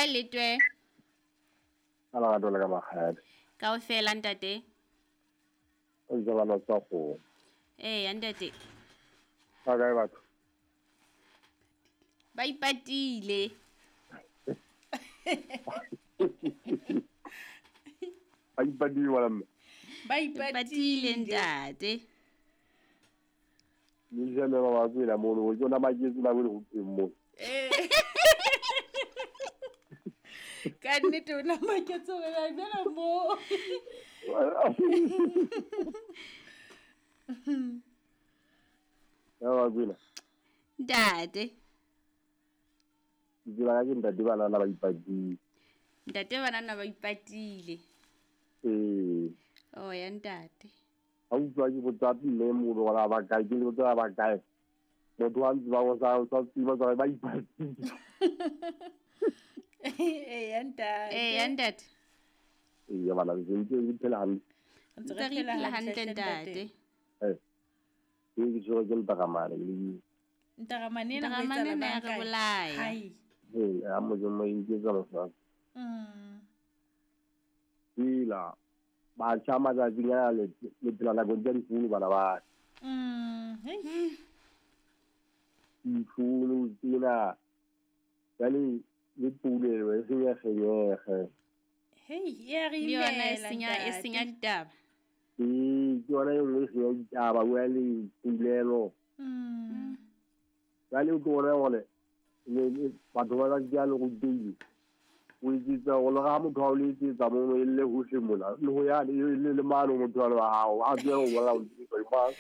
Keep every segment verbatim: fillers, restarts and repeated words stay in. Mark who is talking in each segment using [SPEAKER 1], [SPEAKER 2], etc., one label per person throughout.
[SPEAKER 1] Hai letwe.
[SPEAKER 2] Ala ga dole ka magadi.
[SPEAKER 1] Kaofela ntate.
[SPEAKER 2] O itse bana tsa go.
[SPEAKER 1] Eh ntate.
[SPEAKER 2] Ba kae batho?
[SPEAKER 1] Ba ipatile.
[SPEAKER 2] Ba ipatile wala mme.
[SPEAKER 3] Ba ipatile ntate.
[SPEAKER 2] Ni jeme ba ba tsela mono o tsona maketsi ba bone go teng mo.
[SPEAKER 3] Eh. Ka nnete o na maketsi gore ba bela mo.
[SPEAKER 2] Ya ba tsela.
[SPEAKER 1] Ntate.
[SPEAKER 2] Dira ke ntate bana ba ipatile.
[SPEAKER 1] Ntate bana ba ipatile.
[SPEAKER 2] Eh.
[SPEAKER 1] Oh ya ntate.
[SPEAKER 2] Ha utlwa ke botsa mme molo wala ba kae ke le botsa ba kae. Motho wa ntse ba go sa sa tseba tsa ba ipatile.
[SPEAKER 3] Eh ya ntate.
[SPEAKER 1] Eh ya ntate.
[SPEAKER 2] Eh ya bana ke ntse ke phela hantle.
[SPEAKER 3] Ntse
[SPEAKER 1] Ntse
[SPEAKER 3] re
[SPEAKER 1] re
[SPEAKER 3] phela
[SPEAKER 1] phela
[SPEAKER 3] hantle
[SPEAKER 1] hantle
[SPEAKER 3] ntate.
[SPEAKER 1] ntate.
[SPEAKER 2] Eh. Ke ke tshwere ke ntaramane le
[SPEAKER 3] Ntaramane ena ho
[SPEAKER 1] Ntaramane
[SPEAKER 3] etsahala
[SPEAKER 1] ena ya
[SPEAKER 3] bang
[SPEAKER 1] re
[SPEAKER 3] kae?
[SPEAKER 1] bolaya.
[SPEAKER 3] Hai.
[SPEAKER 2] Eh a mo mo iketsa mosadi.
[SPEAKER 3] Mm.
[SPEAKER 2] Ila batjha matsatsing ana le le phela nakong tsa difounu bana ba.
[SPEAKER 3] Mm. Hei.
[SPEAKER 2] Difounu tsena jwale le poulelo e senyegenyege.
[SPEAKER 3] Hei, e a re
[SPEAKER 1] Le yona e
[SPEAKER 3] imela
[SPEAKER 1] senya e senya
[SPEAKER 3] ntate.
[SPEAKER 1] ditaba.
[SPEAKER 2] Ee, ke yona e nngwe e senya ditaba jwale poulelo.
[SPEAKER 3] Mm.
[SPEAKER 2] Jwale o tlo bona hore le- le- batho ba tsatsi a le rutehile. O etsetsa hore le ha motho a o letsetsa mono e lle hohle mona le ho ya le le le mane ho motho wa hao a tsebe ho bolela ho tseba mang.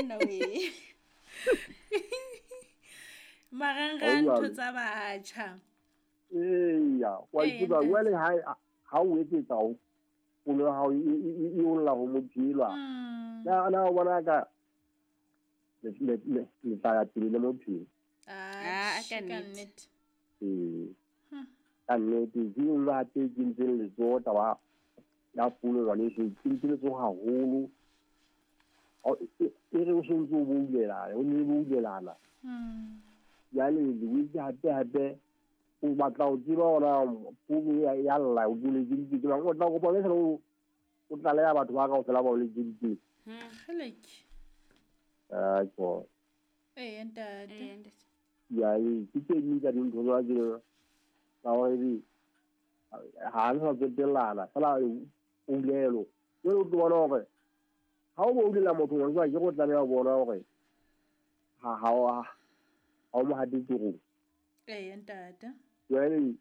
[SPEAKER 1] Nna we.
[SPEAKER 3] Marangrang
[SPEAKER 2] Hauwa.
[SPEAKER 3] ntho tsa batjha.
[SPEAKER 2] Eya, wa
[SPEAKER 3] Ee,
[SPEAKER 2] itseba
[SPEAKER 3] ntate.
[SPEAKER 2] jwale ha ha o etsetsa ho fono ya hao e e e olla ho motho elwa.
[SPEAKER 3] Mm.
[SPEAKER 2] Na na o bona ka le le le le tla ya pele le bophelo.
[SPEAKER 1] Ah,
[SPEAKER 3] Atjhe,
[SPEAKER 1] ka
[SPEAKER 3] ka
[SPEAKER 1] nnete.
[SPEAKER 3] nnete.
[SPEAKER 2] Ee.
[SPEAKER 3] Hmm.
[SPEAKER 2] Ka nnete ke e nngwe hape e kentseng letsoho taba ya fono ngwaneso, e kentse letsoho haholo. O e e re o sontso o boulelana, o ne boulelana.
[SPEAKER 3] Mm.
[SPEAKER 2] Jwale le boetse hape hape o batla ho tseba hore founu ya ya lla o letseditse ke mang, o tla kopa le o o tlaleha batho ba kaofela ba o letseditseng.
[SPEAKER 1] Hmm.
[SPEAKER 3] Kgeleke.
[SPEAKER 2] Ah, ko.
[SPEAKER 3] Ee ntate.
[SPEAKER 1] Eh ntate.
[SPEAKER 2] Jwale ke tse ding tsa dintho tsa tse tsa hore ebe ha le sa tsotellana fela poulelo. Jwale o tlo bona hore ha o boulela motho ngwaneso akere o tlameha ho bona hore ha ha o ha o mo hate torong.
[SPEAKER 3] Ee ntate.
[SPEAKER 2] Jwale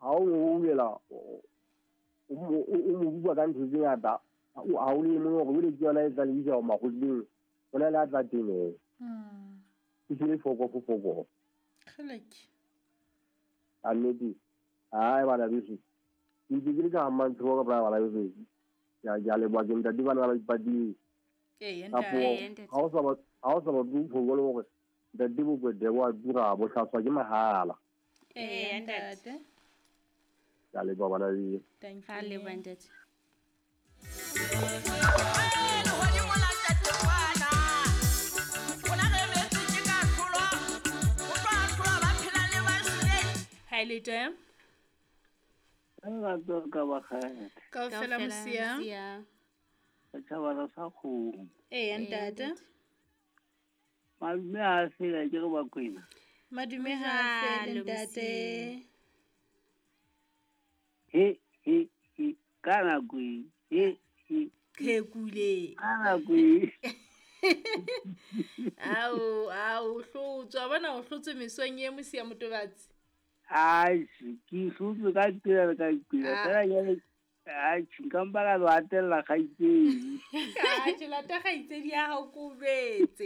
[SPEAKER 2] ha o mo boulela o mo o mo bua ka ntho tse ngata ha o lemohe hore jwale ke yona e tla lebisa ho makgotleng ho na le a tla teng hee.
[SPEAKER 3] Mm.
[SPEAKER 2] E se le fokofo fokofo.
[SPEAKER 3] Kgeleke.
[SPEAKER 2] Ka nnete hai bana beso ke ntse ke le ka Mmantshibo ka pela bana beso. Ke a ke a leboha ke ntate bana ba ipatile.
[SPEAKER 3] Ee
[SPEAKER 2] Kapo
[SPEAKER 3] ntate.
[SPEAKER 1] Ee ntate.
[SPEAKER 2] ha o sa ba ha o sa batle ho bone hore ntate bokwete bo a tura bo hlatswa ke mahala.
[SPEAKER 3] Ee
[SPEAKER 1] Ee ntate.
[SPEAKER 3] ntate.
[SPEAKER 2] Ke a leboha bana beso.
[SPEAKER 3] Thank
[SPEAKER 1] Ha leboha
[SPEAKER 3] you.
[SPEAKER 1] ntate.
[SPEAKER 3] Hai letwe.
[SPEAKER 4] Lerato ka bakgadi.
[SPEAKER 3] Kaofela
[SPEAKER 1] Kaofela
[SPEAKER 3] mosia.
[SPEAKER 1] mosia.
[SPEAKER 4] Setjhaba sa kgomo.
[SPEAKER 3] Ee
[SPEAKER 1] Ee
[SPEAKER 3] ntate.
[SPEAKER 1] ntate.
[SPEAKER 4] Madume ha fela ke re Bakwena.
[SPEAKER 3] Madume ha fele
[SPEAKER 1] Jwalo
[SPEAKER 3] ntate.
[SPEAKER 1] mosia.
[SPEAKER 4] He he he ka nako e he he
[SPEAKER 3] Phekule.
[SPEAKER 4] ka nako e.
[SPEAKER 3] Ao ao hlotswe wa bona o hlotswe mesong e mosia motobatsi.
[SPEAKER 4] Atjhe ke hlotswe ka qela le ka qela.
[SPEAKER 3] Ah.
[SPEAKER 4] Fela jwale atjhe nka mpa ka lo hatella kgaitsedi.
[SPEAKER 3] Atjhe lata kgaitsedi ya hao ko betse.